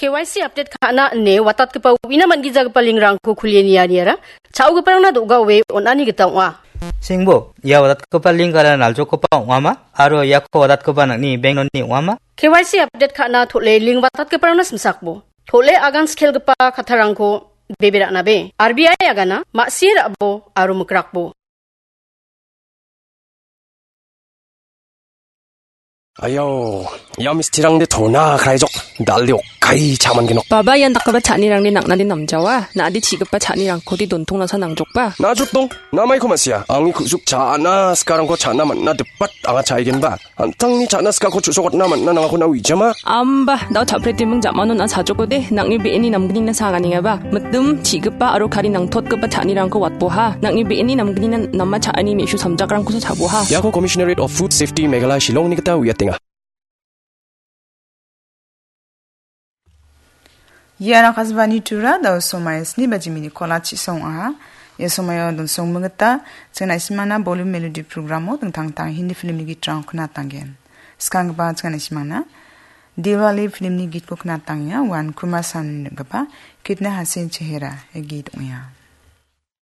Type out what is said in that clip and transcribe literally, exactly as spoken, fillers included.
K Y C update ka·na ine watatgipa uina man·gijagipa lingrangko kulie nianiara cha·ogiparangna do·gaoe on·ani gita ong·a. Singbo, ia watatgipa lingara naljokgipa ong·ama aro iako watatgipa nang·ni bank loan-ni ong·ama? K Y C update ka·na tole ling watatgiparangna simsakbo. Tole agan skelgipa kattarangko bebe ra·nabe. R B I agana ma·sie ra·bo aro mikrakbo. Ayau, ia mistirangde tona kraijok, dalde okkai chaman genok. Baba ian dakgipa cha·anirangde nang·nade namjawa, na·ade chi·gipa cha·nirangkode dontong nasa nangjokba. Najotdong, namaiko ma·sia, angni ku·suk cha·ana sikarangko cha·na man·na dipat anga cha·igenba. An·tangni cha·na sikako chu·sokatna man·na nangako na uijama. Amba, dao cha·pretiming jamano na sajokode, nang·ni be·eni namgnina saganengaba. Mitim, chi·gipa aro kari nangtotgipa cha·anirangko watboha. Nang·ni be·eni namgnina nama cha·ani me·su samjakrangkosa chaboha. Iako Commissionerate of Food Safety Meghalaya Shillongni gita uiatenga. Iara kasbani tura dao somai sni baji mini kola chisong aha. Ia somaio donsong mengeta, chengna isimana Bollywood Melody programo dingtang tang Hindi filmni gitrang kena tanggen. Skang ba chengna isimana Diwali filmni gitko kena tangya, wan Kumar Sanu gaba Kitna Hasin Chehera, e git ongya.